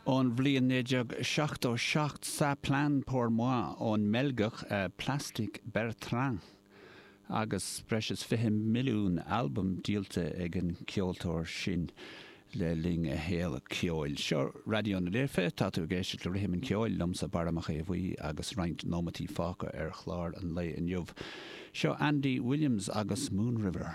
Ón bhliain 1977, Ça Plane Pour Moi ón mBeilgeach Plastic Bertrand agus breis is 20 milliún albam díolta ag an gceoltóir sin le linn a shaol ceoil. Seo Raidió na Life, tá tú ag éisteacht le Rithim an Cheoil liomsa Barra Mac Aodha Bhuí agus roinnt nóimeataí fágtha ar chlár an lae inniu. Seo Andy Williams agus Moon River.